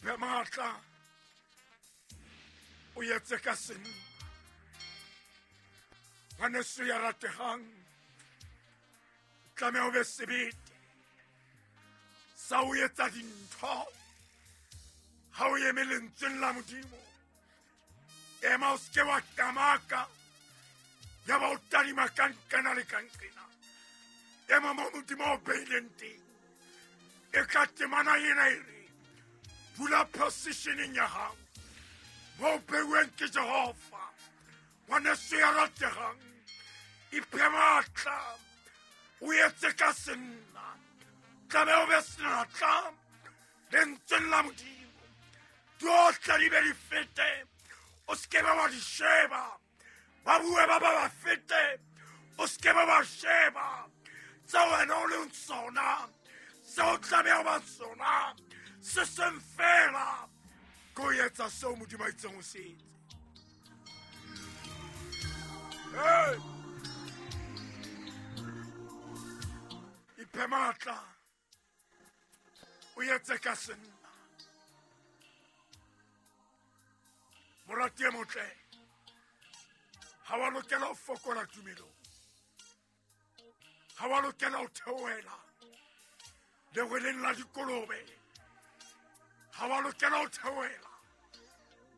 Iphe matla o etse ka senna. Ngwaneso ya rategang, tlameha o be sebete sa o etsa dintho ha o eme lentsweng la Modimo. Ema, o seke wa kamaka ya ba o tadima ka nqena le ka nqena. Ema mo Modimo o beileng teng. E ka temana ena e re dula positioneng ya hao mo o beuweng ke Jehova. Ngwaneso ya rategang, iphe matla o etse ka senna. Tlabe o be senatla lentsweng la Modimo. Tsohle di be di fete, o seke be wa di sheba. Ba bue ba ba ba fete, o seke be wa sheba. Tseo wena o leng sona, seo tlameha ho ba sona, se seng fela ke ho etsa seo Modimo a itseng o se etse. Hey! Iphe matla o etse ka senna. Morati e motle, ha wa lokela ho fokola tumelong, ha wa lokela ho theohela lerweleng la dikolobe, ha wa lokela ho theohela.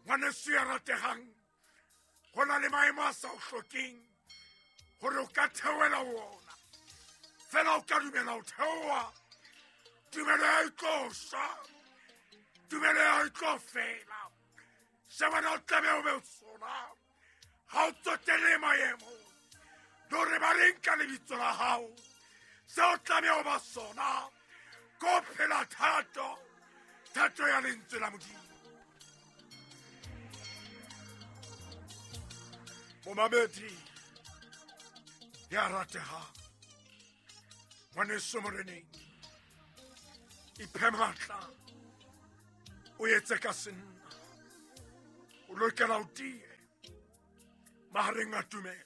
Ngwaneso ya rategang, ho na le maemo a sa o hlokeng hore o ka theohela ho ona. Fela o ka dumela ho theoha, tumelo ya e tlo shwa, tumelo ya e tlo fela. Se wena o tlameha o be o sona, ha o tsotelle maemo le hore ba reng ka lebitso la hao. Se o tlameha o ba sona ke ho phela thato, thato ya lentswe la Modimo. Momamedi ya ratehang, ngwaneso moreneng, iphe matla o etse ka senna. O lokela o tie mahareng a tumelo,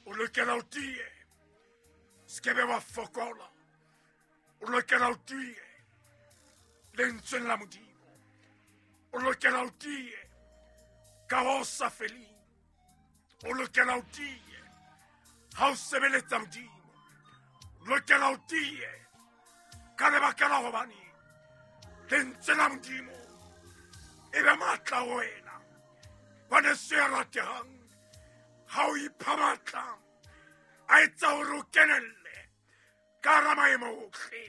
o lokela o tie, se ke be wa fokola. O lokela o tie lentsweng la Modimo, o lokela o tie ka ho sa feleng, o lokela o tie ha o sebeletsa Modimo, o lokela o tie ka lebaka la hobane lentswe la Modimo e be matla ho wena. Ngwaneso ya ratehang, ha o ipha matla a etsa hore o kenelle ka hara maemo ohle,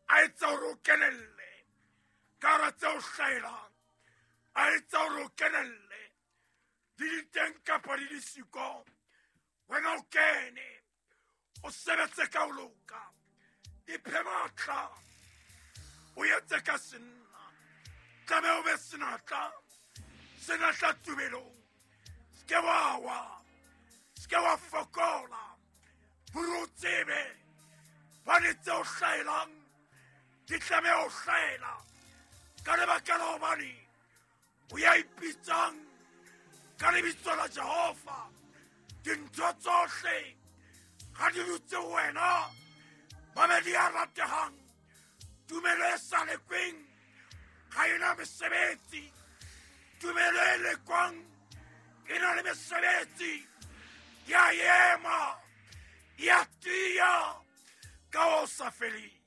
a etsa hore o kenelle ka hara tse o hlahelang, a etsa hore o kenelle di di teng kapa di di siko. Wena o kene, o sebetse ka ho loka, iphe matla o etse ka senna. Tlabe o be senatla, senatla tumelong. Se ke wa wa, se ke wa fokola, hore o tsebe bane tse o hlahelang di tlameha ho hlahela ka lebaka la hobane o ya ipitsang ka lebitso la Jehova. Dintho tsohle ha di dutse ho wena, mamedi ya ratehang, tumelo e sa lekweng ga ena mesebetsi. Tumelo e lekwang e na le mesebetsi, ya ema, ya tiya ka ho sa feleng.